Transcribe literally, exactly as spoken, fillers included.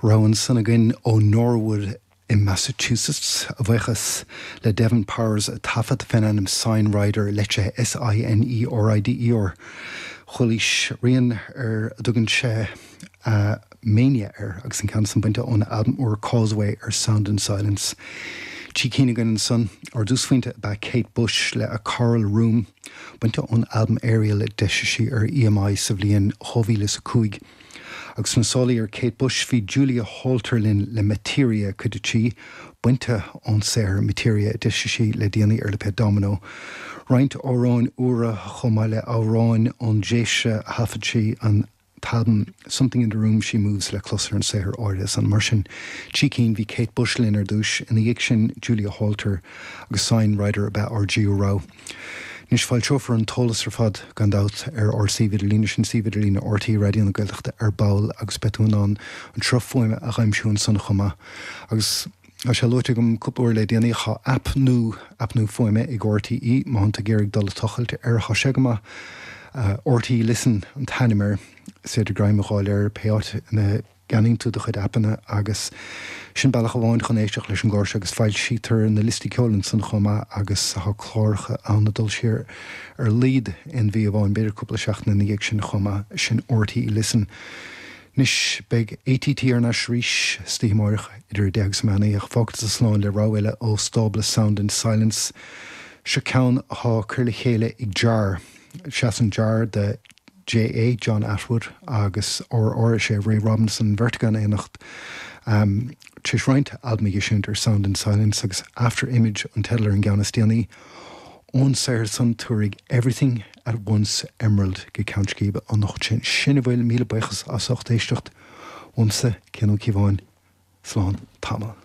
Rogha ansan againn ó Norwood in Massachusetts a bhuíochas le Devon Powers a taifead faoin ainm Sine Rider leitrithe S I N E R I D E R. Chualaís rian ar a dtugann sé uh, Mania air agus an ceann san bainte ón albam úr Causeway ar Sound and Silence. Trí cinn againn ansan ar dtús ba Kate Bush le a Coral Room bainte ón albam Aerial a d'eisigh sí ar E M I sa bhliain dhá mhíle is a cúig. Agus sna sála ar Kate Bush bhí Julia Holter linn le Materia cuid a trí bainte ón saothar Materia a d'eisigh sí le déanaí ar lipéad Domino. Roinnt amhráin úra chomh maith le amhráin ón dtréimhse a thaifead sí an t-albam Something in the Room She Moves le clos ar an saothar áirithe san mar sin trí cinn bhí Kate Bush linn ar dtús ina dhiaidh sin Julia Holter agus Sine Rider a b'ea ár dtríú rogha. Anois foilseofar an t-eolas ar fad gan dabht ar ár suíomh idirlín sin suíomh idirlín R T É Raidió na Gaeltachta ar ball agus beidh tú in ann an sruth fuaime a aimsiú ansan chomh maith. Agus Tá sé luaite agam cúpla uair le déanaí tá aip nua aip nua fuaime ag R T É má tá tú ag dul a tochailt ar tá sé go maith uh, R T É Listen an t-ainm air is féidir greim a fháil air pé áit ina gceannaíonn tú do chuid aipeanna agus sin bealach amháin chun éisteacht leis an gclár agus foilsítear na liostaí ceoil ansan chomh maith agus tá cláracha ann ag dul siar ar a laghad aon mhí amháin b'fhéidir cúpla seachtain ina dhiaidh sin chomh maith sin R T É Listen. Anois beidh A T T ar ais arís istoíche amárach idir deich agus meán ach fágfaidh slán le rogha eile ó stábla Sound and Silence seo ceann atá curtha le chéile ag Jar. Seasann Jar do J A. John Atwood agus R R sé Ray Robinson beirt in éineacht. Um, Tar éis roinnt albaim a eisiúint ar Sound and Silence agus After Image an teideal ar an gceann is déanaí. Ón saothar san tabharfaidh Everything at Once Emerald go ceann scríbe an nocht sin sin a bhfuil míle buíochas as ucht éisteacht uaimse Cian Ó Cíobháin slán tamall.